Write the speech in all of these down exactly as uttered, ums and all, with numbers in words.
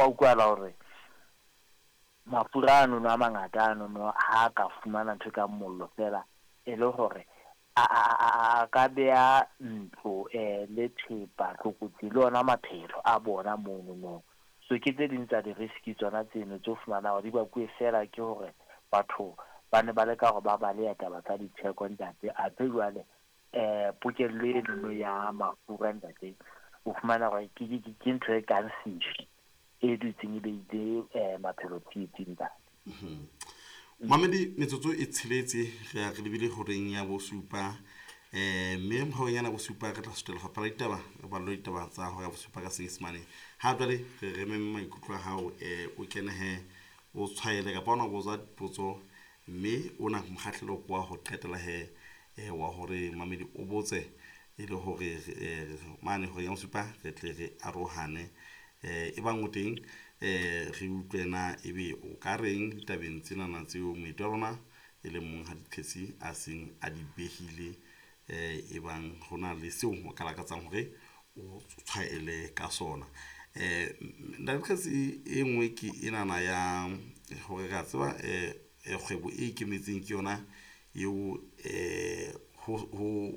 Ho utlwahala hore mafura ano a mangata ano no ha ka fumana ntho ka mollo fela e le hore a a a ka beha ntlo eh le thepa tlokotsi le ona maphelo a bona mono no. So ke tse ding tsa di-risk tsona tseno tse o fumanang hore di bakuwe fela ke hore batho ba ne ba leka hore ba baleha taba tsa ditheko ntate. Athe jwale eh pokello eno ya mafura ntate o fumana hore ke ke ke ntho e kang sefi e dutseng e beile eh maphelo tsietsing ntate. Mamedi metsotso e tsheletse re ya re lebile horeng ya bosupa eh mme horeng yana bosupa re tla sutela lefapha la ditaba re ballwe ditaba tsa hora ya bosupa ka Senyesemane. Ha jwale re re meme maikutlo a hao eh o kene he o tshwaele kapa ona o botsa dipotso mme ona mokgahlelo ke wa ho qetela he eh wa hore mamedi o botse e le hore eh mane horeng ya bosupa re tle re arohane eh e bang o teng eh re utlwe na ebe o ka reng ditabeng tsenana tseo moeti wa rona e leng Monghadi Kgetsi a seng a di behile eh e bang hona le seo o ka lakatsang hore o tshwaele ka sona. Eh Ntate Kgetsi e nngwe ke enana ya hore re a tseba eh kgwebo e ikemetseng ke yona eo eh ho ho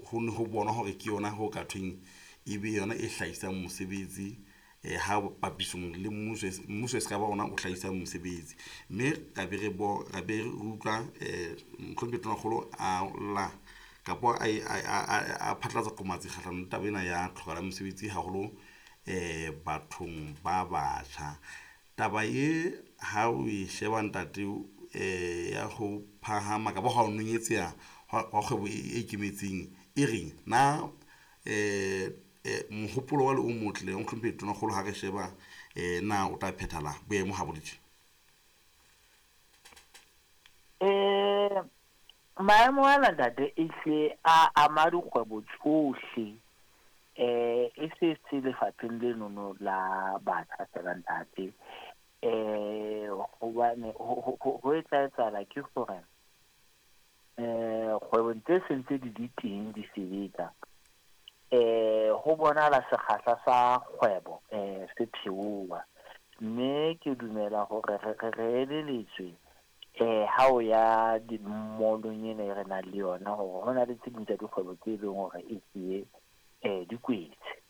ho ne ho bonwa hore ke yona ho ka thweng ebe yona e hlahisang mosebetsi eh ha papisong le mmuso mmuso e se ka ba ona o hlahisang mosebetsi mme ra be re bo ra be re utlwa eh mohlomphehi Tonakgolo a lla kapa a a phatlalatsa qomatsi kgahlanong le taba ena ya tlhokahalo ya mosebetsi haholo eh bathong ba batjha. Taba e ha o e sheba ntate eh ya ho phahama kapa ha o nonyetseha hwa kgwebo e ikemetseng e reng na eh mohopolo wa le o motle o mohlomphehi Tonakgolo ha re sheba eh na o tla phethala boemo ha bo le tje? Eh maemo ana ntate e hle a ama dikgwebo tsohle eh e se se lefapheng lenono la batjha fela ntate. Eh hobane ho etsa etsahala ke hore eh kgwebo tse sentse di di teng di sebetsa eh ho bonahala sekgahla sa kgwebo eh se theoha mme ke dumela hore re re eleletswe eh ha o ya di-mall-ong ena e re nang le yona hore ho na le tse ding tsa dikgwebo tse leng hore e tsie eh di kwetse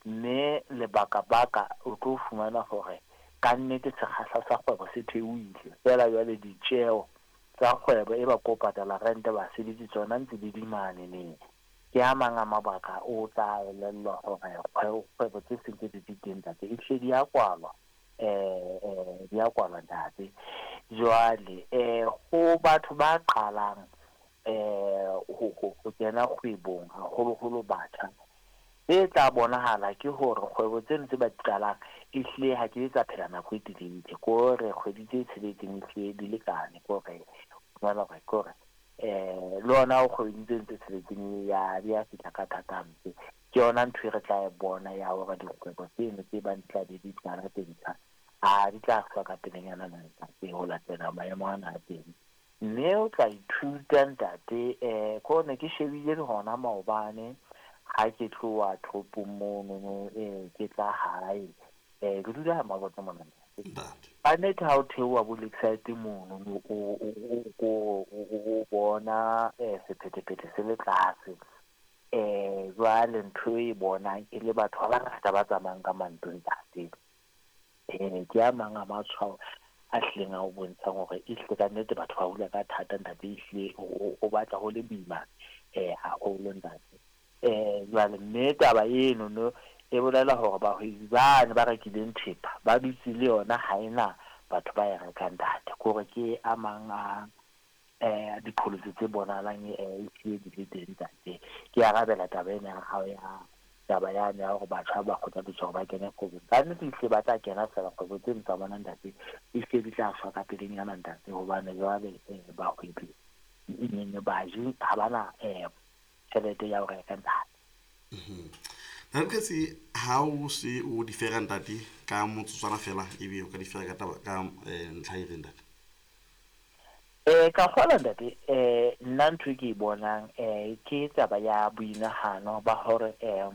mme lebaka baka o tlo fumana hore ka nnete sekgahla sa kgwebo se theohile fela jwale ditjeo tsa kgwebo e ba ko patala rente basebetsi tsona ntse di di mane neng. Ke a mang a mabaka o tla elellwa hore kgwebo tse seng tse di di teng ntate e hle di a kwalwa eh eh di a kwalwa ntate. Jwale eh ho batho ba qalang eh ho ho kena kgwebong haholoholo batjha e tla bonahala ke hore kgwebo tseno tse ba di qalang e hlile ha ke tsa phela nako e telele ke hore kgwedi tse tsheletseng e hlile di lekane ke hore fumana hore ke hore eh le ona o kgwedi tse tse tsheletseng ya di a fihla ka thata hampe. Ke yona ntho e re tla e bona ya hore dikgwebo tseno tse bang di tla be di qala tse ntjha a di tla shwa ka pelenyana na ntate ho latela maemo ana a teng. Mme o tla ithuta ntate eh ko ne ke shebile le hona maobane ha ke tloha toropong mono eh ke tla hae eh ke dula Mabotja mona Ntate. Ka nnete ha o theoha bo Lakeside mono o o o bona eh sephethephethe se le tlase eh jwale ntho e bonang e le batho ba bangata ba tsamayang ka mantlo ntate. Eh ke a mang a matshwao a hlileng a o bontshang hore e hlile ka nnete batho ba hula ka thata ntate e hlile o batla ho le boima eh haholo ntate. Eh jwale mme taba eno no e bolela hore bahwebi bane ba rekileng thepa ba dutse le yona ha ena batho ba e rekang ntate. Ke hore ke a mang a eh diqholotso tse bonahalang eh e hlile di le teng ntate. Ke arabela taba ena ya hao ya taba yane ya hore batjha ba kgothaletswa hore ba kene kgwebong. Ka nnete ehlile ba tla kena fela kgwebo tseno tsa bona ntate e hlile di tla shwa ka pelenyana ntate hobane jwale bahwebi baji ha bana eh tjhelete ya ho reka ntate. Ntate Kgetsi ha o se o di fera ntate ka motsotswana fela ebe o ka di fera ka taba ka ntlha e reng ntate? Eh ka kgolwa ntate eh nna ntho e ke e bonang eh ke taba ya boinahano ba hore eh